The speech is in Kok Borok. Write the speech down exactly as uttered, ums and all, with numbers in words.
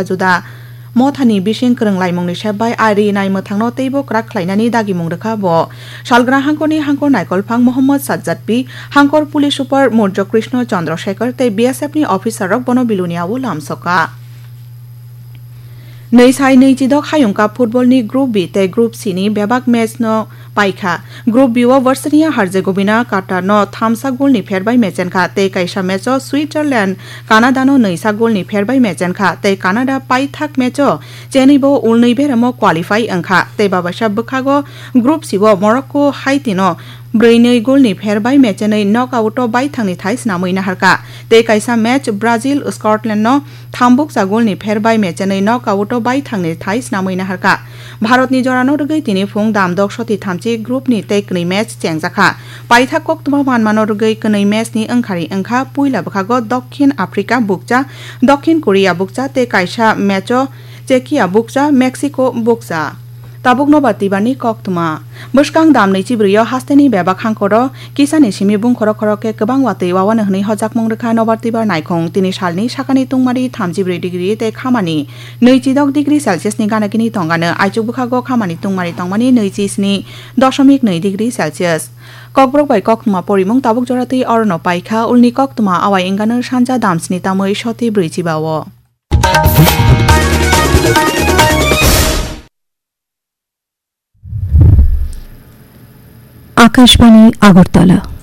juda. Mothani bising kwrwng laimungni sep bai ari nai mwthangno teibo kwrak khlainani dagimung rwkha bo. Salgra hangkorni hangkor naikolphang Mohammad Sajjad P, hangkor police super Murjo Krishna Chandra Shekhar tei B S F ni officer rok bono Bilonia o lamsoka. Nwi sai nwi chidok hayung cup football ni Group B tei Group C ni bebak match no paikha. Group B o Bosnia Herzegovina Qatar no thamsa goal ni pher bai mechenkha tei kaisa match o Switzerland Canada no nwisa goal ni pher bai mechenkha tei Canada paithak match o chenwi bo ulnwi beremo qualify wngkha tei babaisa bwkhago Group C o Morocco Haiti no brwi nwi goal ni pher bai mechenwi knockout o baithangni thai snamwi naharkha tei kaisa match Brazil Scotland no thambukcha goal ni pher bai mechenwi knockout o baithangni thai snamwi naharkha. Bharat ni jora no rwgwi tini phung dam dok soti thamchi group ni tei kwnwi match chengjakha. Paithak koktwma manmano rwgwi kwnwi match ni wngkhari wngkha puila bwkhago Dokhin Africa bukcha, Dokhin Korea bukcha tei kaisa match o Czechia bukcha, Mexico bukcha. Tabuk nobar twibarni koktwma. Bwskang dam nwi chibrwi o hasteni bebak hangkoro kisani simi bungkhoro khoro khe kwbang watwi wawano hwnwi hojakmung rwkha nobar twibar naikhung. Tini salni sakani tungmari thamchibrwi degree tei khamani nwi chidok degree Celsius ni gana gini tongano. Aichuk bwkhago khamani tungmari tongmani nwi chisni doshomik nwi degree Celsius. Kokborok bai koktwma porimung tabuk jora twi orono paikha. Ulni koktwma awai wngano sanja damsni tamwi soti brwi chiba o. Akashbani Agartala.